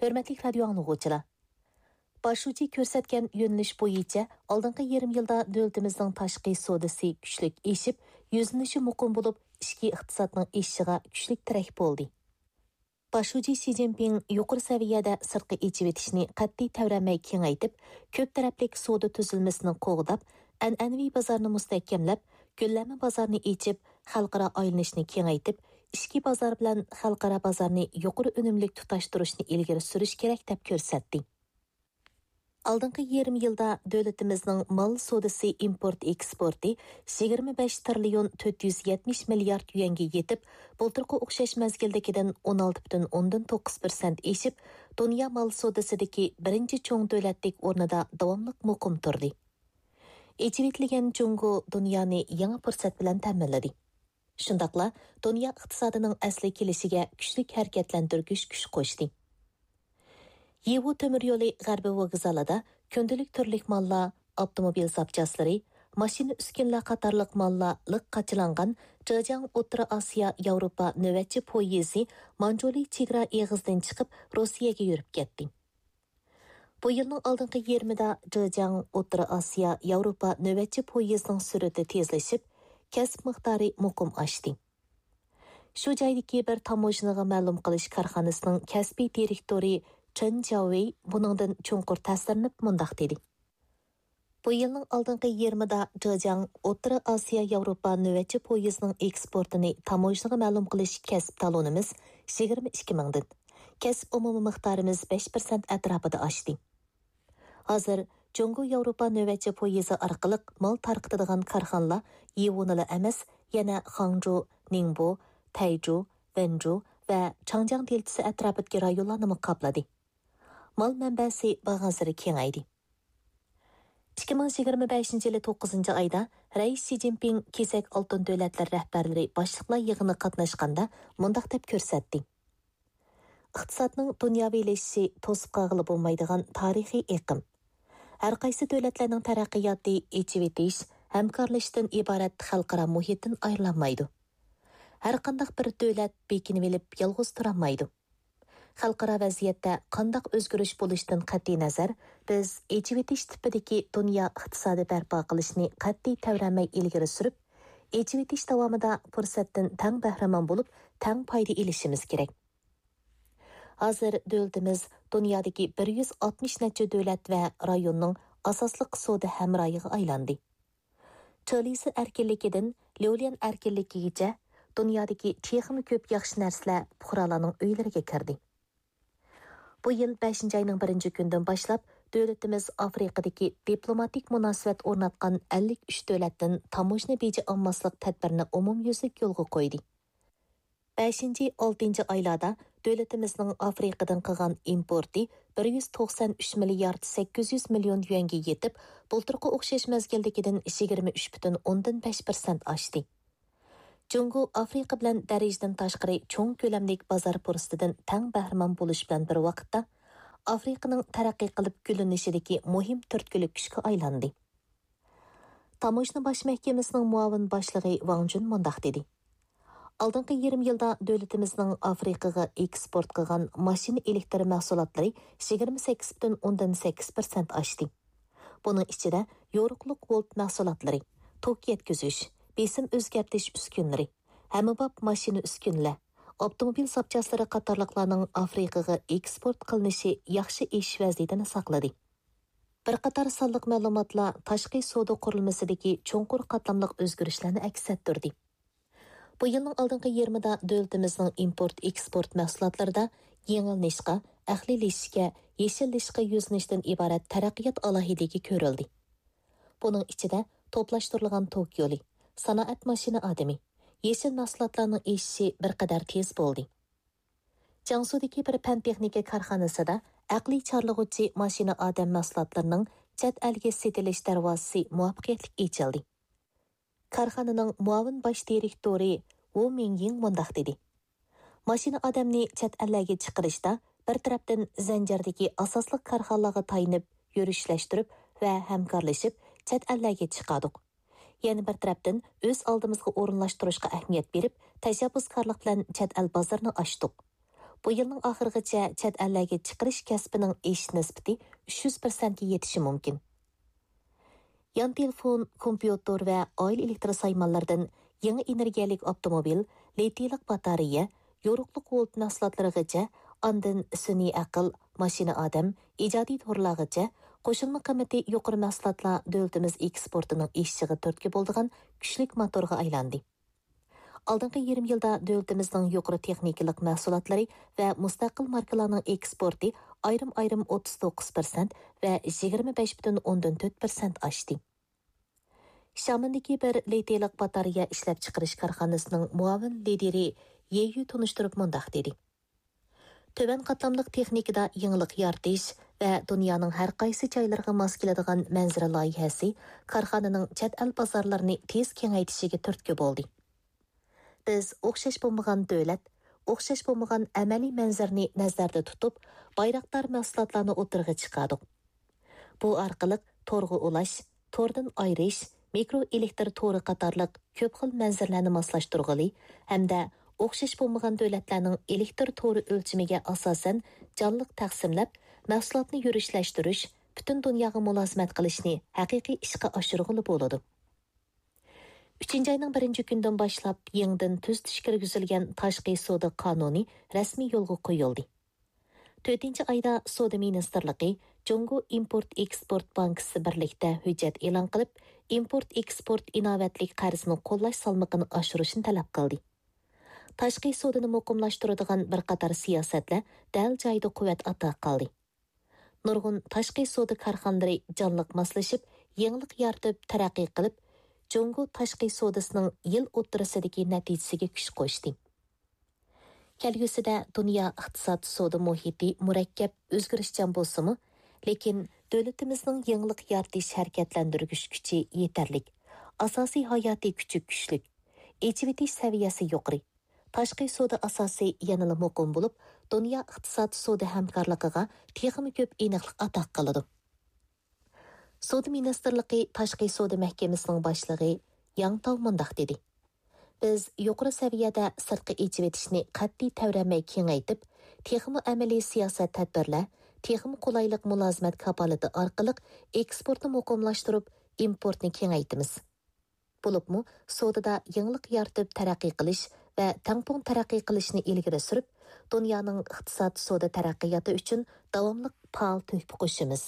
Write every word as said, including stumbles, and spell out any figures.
ھۆرمەتلىك رادىيو ئاڭلىغۇچىلار! باش شۇجى كۆرسەتكەن يۆنىلىش بويىچە ئالدىنقى يېرىم يىلدا دۆلىتىمىزنىڭ تاشقى سودىسى كۈچلۈك ئېشىپ، يۈزلىنىشى مۇقىم بولۇپ، ئىچكى ئىقتىسادنىڭ ئېشىشىغا كۈچلۈك تىرەك بولدى. باش شۇجى شى جىنپىڭ يۇقىرى سەۋىيەدە سىرتقا ئېچىۋېتىشنى قەتئىي تەۋرەنمەي كېڭەيتىپ، كۆپ تەرەپلىك سودا تۈزۈلمىسىنى قوغداپ، ئەنئەنىۋى بازارنى مۇستەھكەملەپ، گۈللەنمە بازارنى ئېچىپ، خەلقئارا ئايلىنىشنى كېڭەيتىپ، ئىچكى بازار بىلەن خەلقئارا بازارنى يۇقىرى ئۈنۈملۈك تۇتاشتۇرۇشنى ئىلگىرى سۈرۈش كېرەك، دەپ كۆرسەتتى. ئالدىنقى يېرىم يىلدا دۆلىتىمىزنىڭ مال سودىسى ئىمپورت ئېكسپورتى يىگىرمە بەش تىرىليون تۆت يۈز يەتمىش مىليارد يۈەنگە يېتىپ، بۇلتۇرقى ئوخشاش مەزگىلدىكىدىن ئون ئالتە پۈتۈن ئوندىن توققۇز پىرسەنت ئېشىپ، دۇنيا مال سودىسىدىكى بىرىنچى چوڭ دۆلەتلىك ئورنىدا داۋاملىق مۇقىم تۇردى. ئېچىۋېتىلگەن جۇڭگو دۇنيانى يېڭى پۇرسەت بىلەن تەمىنلىدى. شۇنداقلا دۇنيا ئىقتىسادىنىڭ ئەسلىگە كېلىشىگە كۈچلۈك ھەرىكەتلەندۈرگۈچ كۈچ قوشتى. يىۋۇ تۆمۈر يولى غەربىي ۋوگزالىدا كۈندىلىك تۈرلۈك ماللار، ئاپتوموبىل زاپچاسلىرى، ماشىنا ئۈسكۈنىلەر قاتارلىق ماللار لىق قاچىلانغان جېجياڭ ئوتتۇرا ئاسىيا ياۋروپا نۆۋەتچى پويىزى مانجۇلى چېگرا ئېغىزىدىن چىقىپ، روسىيەگە يۈرۈپ كەتتى. بۇ يىلنىڭ ئالدىنقى يېرىمىدا جېجياڭ ئوتتۇرا ئاسىيا ياۋروپا نۆۋەتچى پويىزىنىڭ سۈرئىتى تېزلىشىپ، كەسىپ مىقدارى مۇقىم ئاشتى. شۇ جايدىكى بىر تاموژنىغا مەلۇم قىلىش كارخانىسىنىڭ كەسپىي دىرېكتورى چېن جياۋېي بۇنىڭدىن چوڭقۇر تەسىرلىنىپ مۇنداق دېدى: بۇ يىلنىڭ ئالدىنقى يېرىمىدا جېجياڭ ئوتتۇرا ئاسىيا ياۋروپا نۆۋەتچى پويىزىنىڭ ئېكسپورتىنى تاموژنىغا مەلۇم قىلىش كەسىپ تالونىمىز يىگىرمە ئىككى مىڭدىن، كەسىپ ئومۇمىي مىقدارىمىز بەش پىرسەنت ئەتراپىدا ئاشتى. ھازىر جۇڭگو ياۋروپا نۆۋەتچى پويىزى ئارقىلىق مال تارقىتىدىغان كارخانىلار يىۋۇنىلا ئەمەس، يەنە خاڭجۇ، نىڭبو، تەيجۇ، ۋەنجۇ ۋە چاڭجياڭ دېلتىسى ئەتراپىدىكى رايونلارنىمۇ قاپلىدى. مال مەنبەسى بارغانسېرى كېڭەيدى. ئىككى مىڭ يىگىرمە بەشىنچى يىلى توققۇزىنچى ئايدا رەئىس شى جىنپىڭ كېسەك ئالتۇن دۆلەتلەر رەھبەرلىرى باشلىقلار يىغىنىغا قاتناشقاندا مۇنداق دەپ كۆرسەتتى: ئىقتىسادنىڭ دۇنياۋىلىشىشى توسۇپ قالغىلى بولمايدىغان تارىخىي ئېقىم. ھەرقايسى دۆلەتلەرنىڭ تەرەققىياتى ئېچىۋېتىش، ھەمكارلىشىشتىن ئىبارەت خەلقئارا مۇھىتتىن ئايرىلالمايدۇ. ھەرقانداق بىر دۆلەت بېكىنىۋېلىپ يالغۇز تۇرالمايدۇ. خەلقئارا ۋەزىيەتتە قانداق ئۆزگىرىش بولۇشىدىن قەتئىينەزەر، بىز ئېچىۋېتىش تىپىدىكى دۇنيا ئىقتىسادى بەرپا قىلىشنى قەتئىي تەۋرەنمەي ئىلگىرى سۈرۈپ، ئېچىۋېتىش داۋامىدا پۇرسەتتىن تەڭ بەھرىمەن بولۇپ، تەڭ پايدا ئېلىشىمىز كېرەك. ھازىر دۆلىتىمىز دۇنيادىكى بىر يۈز ئاتمىش نەچچە دۆلەت ۋە رايوننىڭ ئاساسلىق سودا ھەمراھىغا ئايلاندى. چېلىسى ئەركىنلىكىدىن ليۇليەن ئەركىنلىكىگىچە دۇنيادىكى تېخىمۇ كۆپ ياخشى نەرسىلەر پۇقرالارنىڭ ئۆيلىرىگە كىردى. بۇ يىل بەشىنچى ئاينىڭ بىرىنچى كۈنىدىن باشلاپ، دۆلىتىمىز ئافرىقىدىكى دىپلوماتىك مۇناسىۋەت ئورناتقان ئەللىك ئۈچ دۆلەتتىن تاموژنا بېجى ئالماسلىق تەدبىرىنى ئومۇميۈزلۈك يولغا قويدى. بەشىنچى، ئالتىنچى ئايلاردا دۆلىتىمىزنىڭ ئافرىقىدىن قىلغان ئىمپورتى بىر يۈز توقسان ئۈچ مىليارد سەككىز يۈز مىليون يۈەنگە يېتىپ، بۇلتۇرقى ئوخشاش مەزگىلدىكىدىن يىگىرمە ئۈچ پۈتۈن ئوندىن بەش پىرسەنت ئاشتى. جۇڭگو ئافرىقا بىلەن دەرىجىدىن تاشقىرى چوڭ كۆلەملىك بازار پۇرسىتىدىن تەڭ بەھرىمەن بولۇش بىلەن بىر ۋاقىتتا، ئافرىقىنىڭ تەرەققىي قىلىپ گۈللىنىشىدىكى مۇھىم تۈرتكىلىك كۈچكە ئايلاندى. تاموژنا باش مەھكىمىسىنىڭ مۇئاۋىن باشلىقى ۋاڭ جۈن مۇنداق دېدى: ئالدىنقى يېرىم يىلدا دۆلىتىمىزنىڭ ئافرىقىغا ئېكسپورت قىلغان ماشىنا ئېلېكتر مەھسۇلاتلىرى يىگىرمە سەككىز پۈتۈن ئوندىن سەككىز پىرسەنت ئاشتى. بۇنىڭ ئىچىدە يورۇقلۇق ۋولت مەھسۇلاتلىرى، توك يەتكۈزۈش، بېسىم ئۆزگەرتىش ئۈسكۈنىلىرى، ھەممىباب ماشىنا ئۈسكۈنىلەر، ئاپتوموبىل زاپچاسلىرى قاتارلىقلارنىڭ ئافرىقىغا ئېكسپورت قىلىنىشى ياخشى ئېشىش ۋەزىيىتىنى ساقلىدى. بىر قاتار سانلىق مەلۇماتلار تاشقى سودا قۇرۇلمىسىدىكى چوڭقۇر قاتلاملىق ئۆزگىرىشلەرنى ئەكس ئەتتۈردى. بۇ يىلنىڭ ئالدىنقى يېرىمىدا دۆلىتىمىزنىڭ ئىمپورت ئېكسپورت مەھسۇلاتلىرىدا يېڭىلىنىشقا، ئەقلىيلىشىشكە، يېشىللىشىشقا يۈزلىنىشتىن ئىبارەت تەرەققىيات ئالاھىدىلىكى كۆرۈلدى. بۇنىڭ ئىچىدە توپلاشتۇرۇلغان توك يولى، سانائەت ماشىنا ئادىمى، يېشىل مەھسۇلاتلارنىڭ ئېشىشى بىر قەدەر تېز بولدى. جياڭسۇدىكى بىر پەن تېخنىكا كارخانىسىدا ئەقلىي چارلىغۇچى ماشىنا ئادەم مەھسۇلاتلىرىنىڭ چەت ئەلگە سېتىلىش دەرۋازىسى مۇۋەپپەقىيەتلىك ئېچىلدى. كارخانىنىڭ مۇئاۋىن باش دىرېكتورى ۋۇ مىڭيىڭ مۇنداق دېدى: ماشىنا ئادەمنى چەت ئەللەرگە چىقىرىشتا بىر تەرەپتىن زەنجىردىكى ئاساسلىق كارخانىلارغا تايىنىپ يۈرۈشلەشتۈرۈپ ۋە ھەمكارلىشىپ چەت ئەللەرگە چىقاردۇق. يەنە بىر تەرەپتىن ئۆز ئالدىمىزغا ئورۇنلاشتۇرۇشقا ئەھمىيەت بېرىپ، تەشەببۇسكارلىق بىلەن چەت ئەل بازىرىنى ئاچتۇق. بۇ يىلنىڭ ئاخىرىغىچە چەت ئەللەرگە چىقىرىش كەسپىنىڭ ئېشىش نىسبىتى ئۈچ يۈز پىرسەنتكە يېتىشى مۇمكىن. يان تېلېفون، كومپيۇتېر ۋە ئائىلە ئېلېكتر سايمانلىرىدىن يېڭى ئېنېرگىيەلىك ئاپتوموبىل، لىتىيلىق باتارېيە، يورۇقلۇق ۋولت مەھسۇلاتلىرىغىچە، ئاندىن سۈنئىي ئەقىل، ماشىنا ئادەم، ئىجادىي تورلارغىچە، قوشۇلما قىممىتى يۇقىرى مەھسۇلاتلار دۆلىتىمىز ئېكسپورتىنىڭ ئېشىشىغا تۈرتكە بولىدىغان كۈچلۈك موتورغا ئايلاندى. ئالدىنقى يېرىم يىلدا دۆلىتىمىزنىڭ يۇقىرى تېخنىكىلىق مەھسۇلاتلىرى ۋە مۇستەقىل ماركىلارنىڭ ئېكسپورتى ئايرىم-ئايرىم ئوتتۇز توققۇز پىرسەنت ۋە يىگىرمە بەش پۈتۈن ئوندىن تۆت پىرسەنت ئاشتى. شامېندىكى بىر لىتىيلىق باتارېيە ئىشلەپچىقىرىش كارخانىسىنىڭ مۇئاۋىن لىدىرى يې يۈ تونۇشتۇرۇپ مۇنداق دېدى: تۆۋەن قاتلاملىق تېخنىكىدا يېڭىلىق يارىتىش ۋە دۇنيانىڭ ھەر قايسى جايلىرىغا ماس كېلىدىغان مەنزىرە لايىھەسى كارخانىنىڭ چەت ئەل بازارلىرىنى تېز كېڭەيتىشىگە تۈرتكە بولدى. بىز ئوخشاش بولمىغان دۆلەت، ئوخشاش بولمىغان ئەمەلىي مەنزىرىنى نەزەردە تۇتۇپ، بايراقدار مەھسۇلاتلارنى ئوتتۇرىغا چىقاردۇق. بۇ ئارقىلىق تورغا ئۇلاش، توردىن ئايرىش، مىكرو ئېلېكتر تورى قاتارلىق كۆپ خىل مەنزىرىلەرنى ماسلاشتۇرغىلى ھەمدە ئوخشاش بولمىغان دۆلەتلەرنىڭ ئېلېكتر تورى ئۆلچىمىگە ئاساسەن جانلىق تەقسىملەپ، مەھسۇلاتنى يۈرۈشلەشتۈرۈش، پۈتۈن دۇنياغا مۇلازىمەت قىلىشنى ھەقىقىي ئىشقا ئاشۇرغىلى بولىدۇ. ئۈچىنچى ئاينىڭ بىرىنچى كۈنىدىن باشلاپ يېڭىدىن تۈزىتىش كىرگۈزۈلگەن تاشقى سودا قانۇنى رەسمىي يولغا قويۇلدى. تۆتىنچى ئايدا سودا مىنىستىرلىقى، جۇڭگو ئىمپورت ئېكسپورت بانكىسى بىرلىكتە ھۆججەت ئېلان قىلىپ، ئىمپورت ئېكسپورت ئىناۋەتلىك قەرزىنى قوللاش سالمىقىنى ئاشۇرۇشنى تەلەپ قىلدى. تاشقى سودىنى مۇقىملاشتۇرىدىغان بىر قاتار سىياسەتلەر دەل جايىدا قۇۋۋەت ئاتا قىلدى. نۇرغۇن تاشقى سودا كارخانىلىرى جانلىق ماسلىشىپ، يېڭىلىق يارىتىپ تەرەققىي قىلىپ، جۇڭگو تاشقى سودىسىنىڭ يىل ئوتتۇرىسىدىكى نەتىجىسىگە كۈچ قوشتى. كەلگۈسىدە دۇنيا ئىقتىساد سودا مۇھىتى مۇرەككەپ، ئۆزگىرىشچان بولسىمۇ، لېكىن دۆلىتىمىزنىڭ يېڭىلىق يارىتىش ھەرىكەتلەندۈرگۈچ كۈچى يېتەرلىك، ئاساسىي ھاياتىي كۈچى كۈچلۈك، ئېچىۋېتىش سەۋىيەسى يۇقىرى، تاشقى سودا ئاساسى يەنىلا مۇقىم بولۇپ، دۇنيا ئىقتىساد سودا ھەمكارلىقىغا تېخىمۇ كۆپ ئېنىقلىق ئاتا قىلىدۇ. سودا مىنىستىرلىقى تاشقى سودا مەھكىمىسىنىڭ باشلىقى ياڭ تاۋ مۇنداق دېدى: بىز يۇقىرى سەۋىيەدە سىرتقا ئېچىۋېتىشنى قەتئىي تەۋرەنمەي كېڭەيتىپ، تېخىمۇ ئەمەلىي سىياسەت تەدبىرلەر، تېخىمۇ قولايلىق مۇلازىمەت كاپالىتى ئارقىلىق ئېكسپورتنى مۇقىملاشتۇرۇپ، ئىمپورتنى كېڭەيتىمىز. بولۇپمۇ سودىدا يېڭىلىق يارىتىپ تەرەققىي قىلىش ۋە تەڭپۇڭ تەرەققىي قىلىشنى ئىلگىرى سۈرۈپ، دۇنيانىڭ ئىقتىساد سودا تەرەققىياتى ئۈچۈن داۋاملىق پائال تۆھپە قوشىمىز.